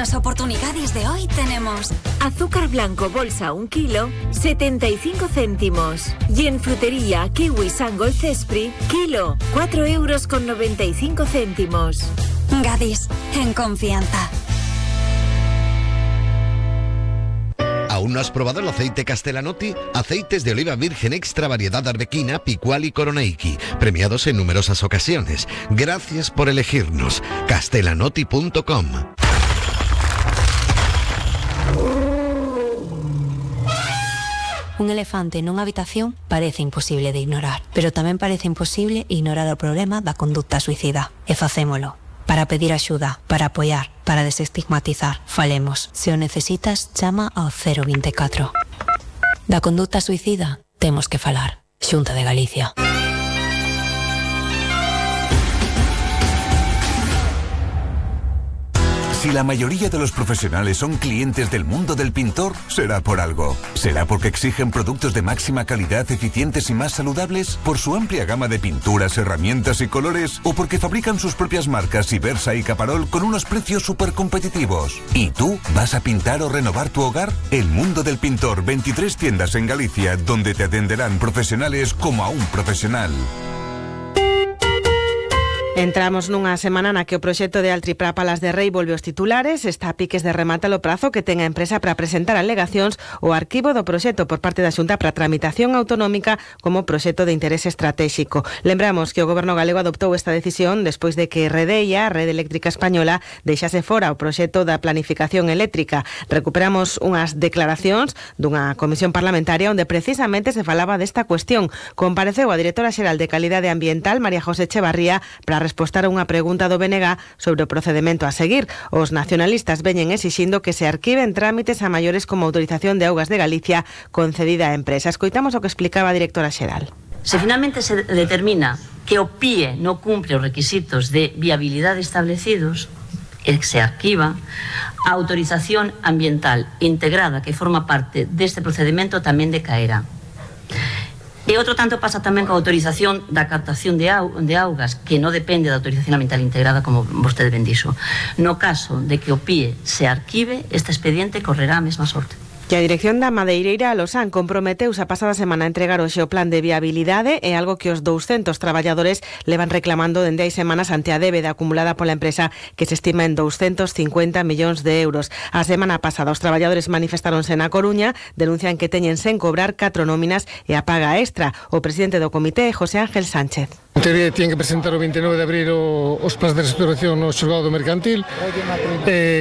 las oportunidades de hoy tenemos azúcar blanco bolsa 1 kilo, 75 céntimos. Y en frutería kiwi Sangol Cespri, kilo, 4,95 €. Gadis, en confianza. ¿Aún no has probado el aceite Castellanotti? Aceites de oliva virgen extra variedad arbequina, picual y coroneiki, premiados en numerosas ocasiones. Gracias por elegirnos. Castellanotti.com. Un elefante nunha habitación parece imposible de ignorar, pero tamén parece imposible ignorar o problema da conducta suicida. E facémolo. Para pedir axuda, para apoiar, para desestigmatizar. Falemos. Se o necesitas, chama ao 024. Da conducta suicida, temos que falar. Xunta de Galicia. Si la mayoría de los profesionales son clientes del mundo del pintor, será por algo. ¿Será porque exigen productos de máxima calidad, eficientes y más saludables? ¿Por su amplia gama de pinturas, herramientas y colores? ¿O porque fabrican sus propias marcas Ibersa y Caparol con unos precios súper competitivos? ¿Y tú vas a pintar o renovar tu hogar? El mundo del pintor, 23 tiendas en Galicia, donde te atenderán profesionales como a un profesional. Entramos nunha semana na que o proxecto de Altripra Palas de Rei volve aos titulares. Está a piques de rematar o prazo que ten a empresa para presentar alegacións ao arquivo do proxecto por parte da Xunta para tramitación autonómica como proxecto de interese estratégico. Lembramos que o Goberno galego adoptou esta decisión despois de que Redeia, a Rede Eléctrica Española, deixase fora o proxecto da planificación eléctrica. Recuperamos unhas declaracións dunha comisión parlamentaria onde precisamente se falaba desta cuestión. Compareceu a directora xeral de Calidade Ambiental, María José Echevarría, para respostar a unha pregunta do BNG sobre o procedemento a seguir. Os nacionalistas veñen exixindo que se arquiven trámites a maiores como autorización de augas de Galicia concedida a empresa. Escoitamos o que explicaba a directora xeral. Se finalmente se determina que o PIE non cumpre os requisitos de viabilidade establecidos, e se arquiva, a autorización ambiental integrada que forma parte deste procedimento tamén decaerá. E outro tanto pasa tamén coa autorización da captación de augas, que non depende da autorización ambiental integrada, como vostede ben dixo. No caso de que o PIE se arquive, este expediente correrá a mesma sorte. Que a dirección da Madeireira Losán comprometeuse a pasada semana a entregar hoxe o plan de viabilidade, é algo que os 200 traballadores levan reclamando dende hai semanas ante a débeda acumulada pola empresa, que se estima en 250 millóns de euros. A semana pasada os traballadores manifestáronse na Coruña, denuncian que teñen sen cobrar 4 nóminas e a paga extra. O presidente do comité, José Ángel Sánchez. En teoría tienen que presentar o 29 de abril os plans de restauración no xulgado mercantil,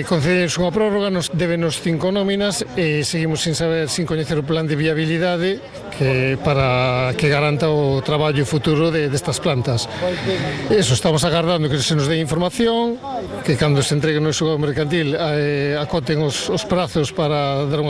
concedernos unha prórroga, nos débenos 5 nóminas e seguimos sin saber, sin coñecer o plan de viabilidade para que garanta o traballo futuro destas plantas. Eso, estamos agardando que se nos dé información, que cando se entregue no xulgado mercantil acoten os prazos para dar unha